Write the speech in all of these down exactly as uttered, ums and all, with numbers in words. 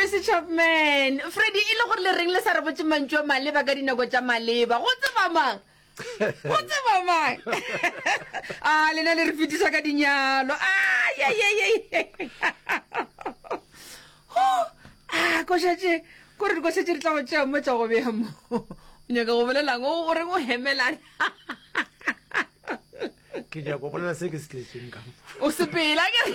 Tracy Chapman. Freddy, e le gore le reng le sa re botše mantšu a maleba ka dinako tša maleba? Go tseba mang? Go tseba mang? A lena le re fetiša ka dinyalo. A ye ye ye. Ho! A koša tše, kore dikoša tše di tla go tšea mo tša go bea mo. O nyaka go bolelang? O reng o hemelana? Ke nyaka go bolela se ke se tletšeng ka mo. O sepela ke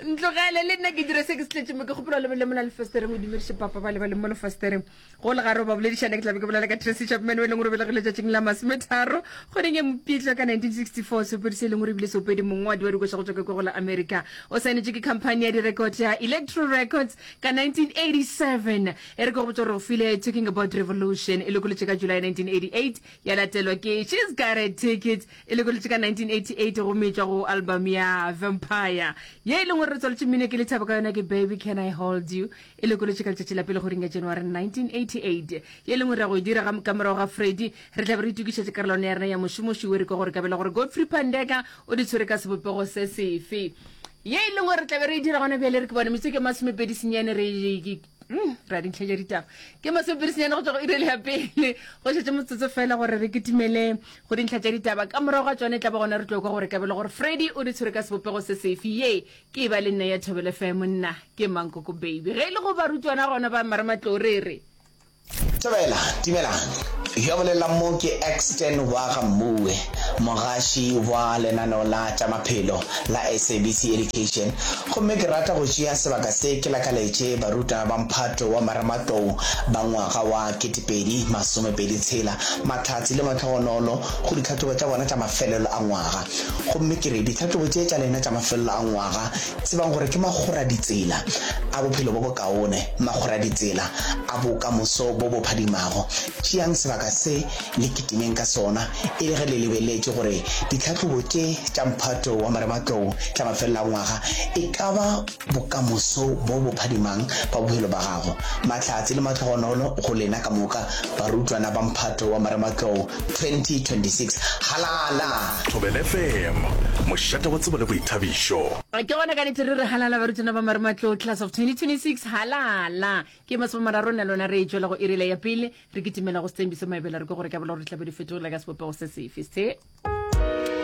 ntlogele le nna ke dire se ke se tletše mo. Ke kgopela lebelele mola lefestereng, o dumediše papa ba le ba le mo lefestereng go le gare o ba boledišana. Ke tlabe ke bolela ka Tracy Chapman o e leng gore o belegile letšatšing la masometharo kgweding ya Mopitlo ka nineteen sixty four. Seopedi se e leng gore ebile seopedi mongwadi wa dikoša go tšwa ka kwa go la America, o saenetše ke company ya direkoto ya Electro Records ka nineteen eighty-seven. E re ke go botša gore go file Talking About Revolution, e lokolotše ka July nineteen eighty-eight, ya latelwa ke She's Got a Ticket, e lokolotše ka nineteen eighty-eight gomme e tšwa go album ya Vampire. Ye e leng gore re tswaletše mmino ke lethabo ka yona ke Baby Can I Hold You, e lokolotše ka letšatši la pele kgweding ya January nineteen eighty-eight. Ye e leng gore ra go e dira ka morago ga Freddy, re tla be re itokišetše karolwana ya rena ya mošomoši we re kwa gore kabela gore Godfrey Pandeka o di tshwere ka sebopego se sefe. Ye e leng gore re tla be re e dira gona bjale, re ke bone metsotso ke masomepedi senyane, re Mm, ra dintlha tša ditaba ke masomepedi senyane go tšwa go iri ya pele. Go šetše motsotso fela gore re kitimele go dintlha tša ditaba. Ka morago ga tšone e tla ba gona re tlo kwa gore kabelo gore Freddy o di tshwere ka sebopego se sefe. Ye ke e ba le nna ya Thobela F M, nna ke Mankoko Baby. Ge e le go barutwana gona ba marematlou re re Thobela, dumelang. Yo a bolelang mo ke Exton wa ga Mmuwe, mogaši wa lenaneo la tša maphelo la S A B C Education. Gomme ke rata go tšea sebaka se ke lakaletše barutwana ba mphato wa marematlou ba ngwaga wa ketepedi masomepedi tshela mahlatse le mahlogonolo go ditlhahlobo tša bona tša mafelelo a ngwaga. Gomme ke re ditlhahlobo tše tša lena tša mafelelo a ngwaga, tsebang gore ke makgoraditsela a bophelo bo bokaone, makgoraditsela a bokamoso bo bo phadimago. Tšeang sebaka se le kitimeng ka sona e le ge le lebeletše gore ditlhahlobo tše tša mphato wa marematlou tša mafelelo a ngwaga e ka ba bokamoso bo bo phadimang ba bophelo ba gago. Mahlatse le mahlogonolo go lena ka moka barutwana ba mphato wa marematlou twenty twenty-six. Halala! Thobela F M, mošate wa tsebo le boithabišo. Ke gona ka nnete re re halala barutwana ba marematlou class of twenty twenty-six, halala. Ke masomemararo nna lona re tšwela go irile ya pele, re kitimela go Sethembiso Maebela, re ke gore ka bola gore tlabe di fetogile ka sebopego se sefe se.